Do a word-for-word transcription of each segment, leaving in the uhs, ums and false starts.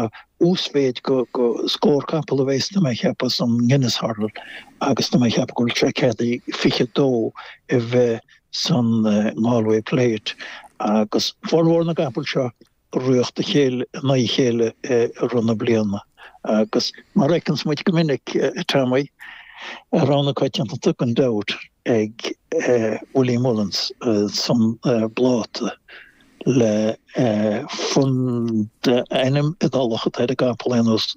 tá uasmhéid go go scór capall a bheas tá mé ag ceapadh san Guinness Hurdle agus tá mé ag ceapadh go bhfuil sé ceadaithe fiche dó a bheith san Galway Plate agus formhór na gcapall seo rith a chéile in aghaidh a chéile i rith na bliana agus mar a fheiceanns muid go minic a Tommy, rogha na coitiantachta gan dabht ag Willie Mullins san bpláta le fund ainm Iodálach atá ar an gcapall ar aon nós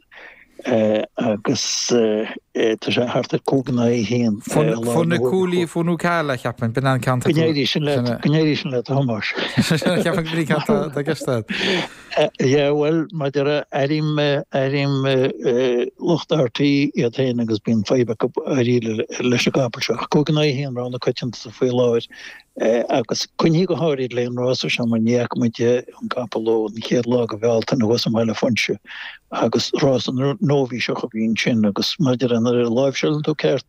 agus tá sé thart ar cúig in aghaidh a haon. Funiculi Funicala, cheapfainn, b'in an ceann. Go n-éirí sin leat, go n-éirí sin leat, a Thomáis. Cheapfainn go bhfuil ceann tá gceist agat. Yeah, bhuel, maidir a airím, airím lucht RTÉ iad féin agus bíonn fadhb acu dáiríre leis an gcapall seo. Ach cúig in aghaidh a haon rogha na coitiantachta faoi láthair. Agus coinnithe go háirid le an rása seo mar ní fhaca muid an capall ó an chéad lá de Bhealtaine thuas i mBaile Phúinse agus rása nóibhíseach a bhí ansin agus maidir le nuair a láimhseálann tú ceart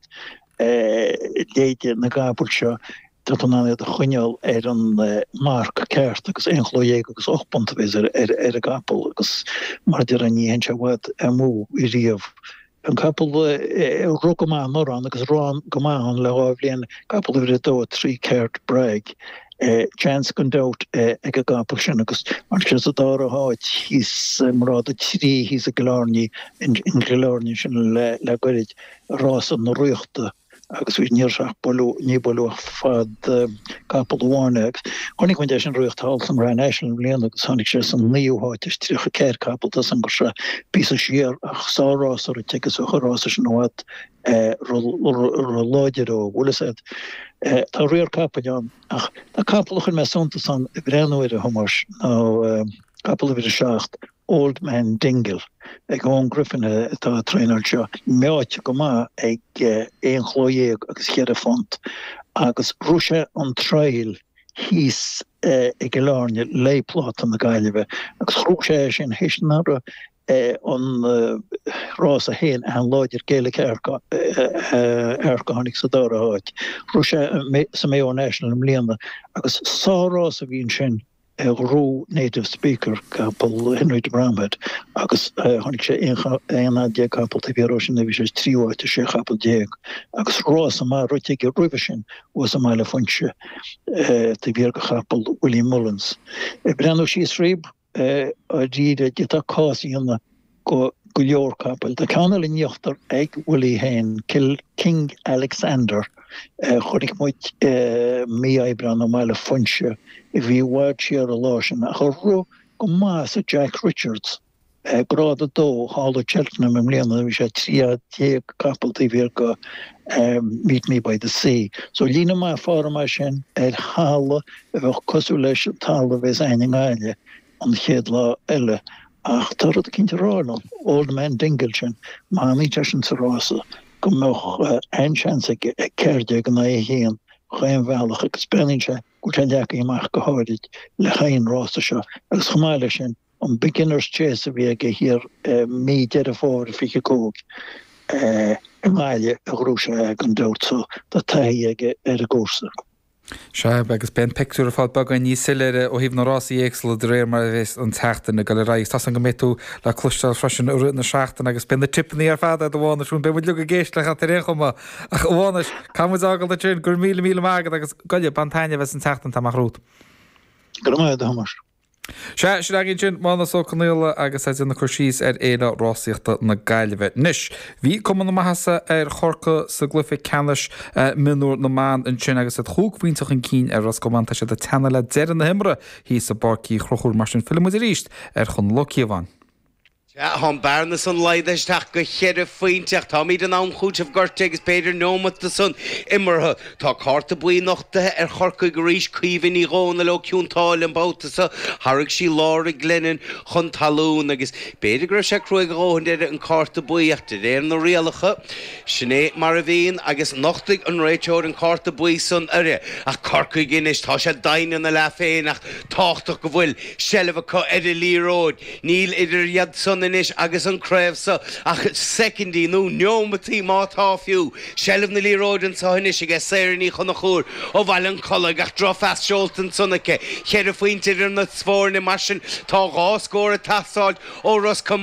léide na gcapall seo tá tú in ann iad a choinneáil ar an marc ceart agus aon chló dhéag agus ocht bpunt a bheas ar an gcapall agus mar a déarfá ní théann sé i bhfad amú riamh. An capall a rith go maith anuraidh ann agus a rith go maith ann le dhá bhliain, capall uimhir a dó, a trí Cert Bragg. Seans gan dabht ag an gcapall sin agus tháinig sé sa dara háit thíos i ngrád a trí thíos i gCill Airne, in gCill Airne sin le goirid, rása na Ríochta. agus bhí ní raibh sé ach bualadh, ní bualadh ach fad capall amháin é agus chonaic muid é sin ag rith thall san Grand National i mbliana agus tháinig sé san naoú háit as tríocha ceathair capall tá a fhios agam go raibh sé píosa siar ach sár-rás rite aige agus bheadh an rása sin i bhfad ró-láidir dó, bhfuil fhios a'd. Tá riar capaill ann ach tá capall a chuir mé suntas ann ag breathnú air a Thomáis ná capall uimhir a seacht, Old Man Dingle ag Eoin Griffin atá ag traenáil seo, meáite go maith ag aon chló dhéag agus cheithre phunt agus rith sé an trial thíos i gCill Airne le Pláta na Gaillimhe agus ghnóthaigh sé é sin théis anuraidh an rás a haon Aithin Láidir Gaelic Arc a tháinig sa dara háit. Rith sé sa Mayo National i mbliana agus sár-rás a bhí ansin. a ghnóthaigh Native Speaker, capall Henry de Bromhead, agus tháinig sé aon fhad déag capall taobh thiar dó sin, bhí sé sa tríú háit as sé chapall déag, agus rása maith rite aige roimhe sin thuas i mBaile Phúinse taobh thiar de chapall Willie Mullins. Ag breathnú síos fríob, dáiríre, d'fhéadfá cás a dhéanamh go go leor capaill. Tá ceann eile in íochtar ag Willie féin, King Alexander. Chonaic muid mí Aibreán i mBaile Phúinse a bhí i bhfad siar an lá sin ach a rith go maith sa Jack Richards, grád a dó, thall i Cheltenham i mbliana, bhí sé trí fhad déag capall taobh thiar de Meet Me By The Sea. So líne maith form é sin ar thalamh a bheadh cosúil leis an talamh a bheas againn i nGaillimh an chéad lá eile. Ach tá rud eicínt a rá liom, Old Man Dingle sin, má fhanann seisean sa rása, go mbeadh an-seans aige ag ceathair déag in aghaidh a haon chaon bhealach agus breathnaíonn sé go bhfuil sé leagtha amach go háirid le haghaidh an rása seo agus chomh maith leis sin an Beginners Chase a bhí aige thiar mí Deireadh Fómhair fiche cúig i nGaillimh a ghnóthaigh sé é gan dabht so tá taithí aige ar an gcúrsa. Sea, agus beidh an pictiúr ar fad beagán níos soiléire ó thaobh na rásaí éagsúla de réir mar a bheas an tseachtain ag dul ar aghaidh. Tá 's agam go mbeidh tú le cloisteáil freisin i rith na seachtaine agus beidh na tipeanna ar fad agat a Mhánais, beidh muid uilig ag éisteacht leat ar aon chuma. Ach a Mhánais, caithfidh muid a fhágáil ansin, go raibh míle míle maith agat agus goile, bain taitneamh as an tseachtain atá amach romhat. Go raibh maith agat a Thomáis. Sea, sin againn sin, Mánus Ó Conaola agus é ag déanamh cur síos ar Fhéile Rásaíochta na Gaillimhe. Anois, bhí cuma na maitheasa ar Chorcaigh sa gcluiche ceannais mionúr na mban ansin agus iad chúig phointe chun cinn ar Ros Comáin. Tá siad ag teannadh le deireadh na himeartha thíos i bPáirc Uí Chonchúir. Mar sin, fillfidh muid arís ar Chonall Ó Cíobháin. Tá an bearna san laghdaithe isteach go cheithre phointe ach táimid in am chúitimh gortaithe agus b'fhéidir neomat san imeartha. Tá cárta buí nochtaithe ar Chorcaigh arís, Caoimhe Ní Dhomhnaill ó Cionn tSáile an babhta seo. Tharraing sí Laura Glennon chun talún agus b'fhéidir go raibh sé cruaidh a dhóthain uirthi an cárta buí ach de réir na rialacha, sin é mar a bhíonn agus nochtaigh an réiteoir an cárta buí san uirthi. Ach Corcaigh anois, tá sé doimhin ina leath féin ach tábhachtach go bhfuil seilbh acu ar an liathróid. Níl idir iad san anois agus an craobh so ach soicindí, nó neomataí má tá fiú. Seilbh na liathróide anso anois aige Sarah Ní Chonchúir ó Bhaile an Chollaigh ach drochphas seolta ansan aici. Ceithre phointe idir na foirne mar sin tá dhá scór ag teastáilt ó Ros Comáin.